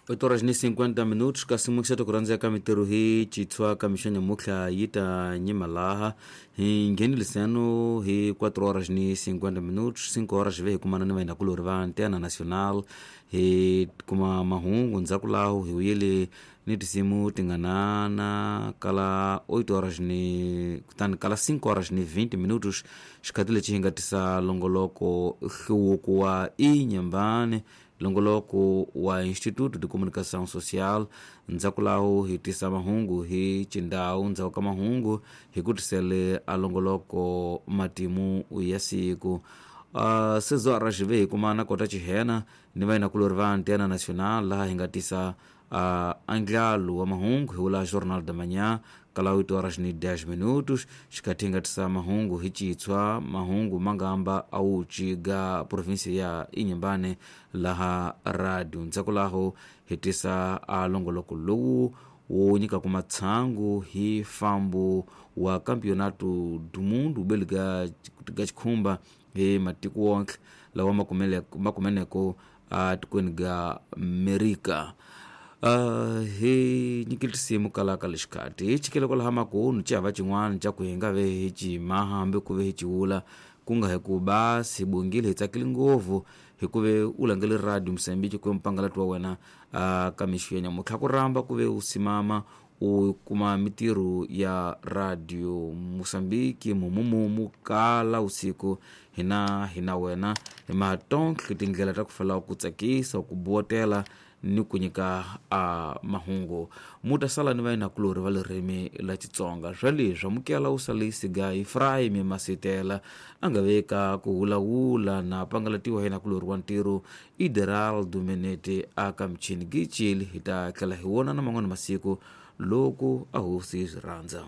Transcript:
8 horas ni 50 minutos kasi muxeto ku rhandzeka mintirho hi chitshwa ka mixo nyamutlha yi ta nyima laha hi ngheneliseno hi 4 horas ni 50 minutos 5 horas ve hi kumana ni vayinakulori va Antena Nacional hi kuma mahungu ndzhaku laho hi wuyele ni tinsimu tinganana kala 8 horas ni kutani kala 5 horas ni 20 minutos xikhati lexi hi nga tisa longoloko hluvuko wa Inhambane longoloko wa Instituto de Comunicação Social. Ndzhaku laho hi tisa mahungu hi chindhawu, ndzhaku ka mahungu hi ku tisele a longoloko matimu ya siku. Sezora xive hi kuma na kota chihena ni vayinakulori va Antena Nacional laha hi nga tisa andlalo wa mahungu hi wula Jornal da Manhã kala 8 horas ni 10 minutos xikhathi hi nga tisa mahungu hi chitshwa mahungu mangamba awuchi ga provinsia ya Inhambane laha radio. Ndzhaku laho hi tisa a longoloko lowu wo nyikaku matshangu hi fambo wa Campeonato do Mundo ubeli ga xikhumba hi matiko wonke lawa makumeneko a tikweni ga Amerika. Hi nyikile tinsimu kalaka lexikati hi chikele kwalaha makunu xihava xin'wana xa ku hi nga ve hi cima hambi ku ve hi ciwula ku nga hi ku basi hi bongile hi tsakile ngopfu hi ku ve u langele radio Mozambique ku ve mpangalati wa wena ka mixo ya nyamutlha ku rhamba ku ve u simama u kuma mitirho ya radio Mozambique mumumumu kala usiku hina hina wena hi matontlhe tindlela ta ku fela ku tsakisa ku buwatela ni ku nyika a mahungu. Muta sala ni vayinakulori va ririmi la Xitsonga swa leswi amukela u sale siga Efraim Masitela a nga veka ku wulawula na pangalatiwa hi nakulori wa ntirho Ideraldo Menete a ka michini gicili. Hi ta tlhela hi vonana man'wana masiku loko a hosi yi swi rhandza.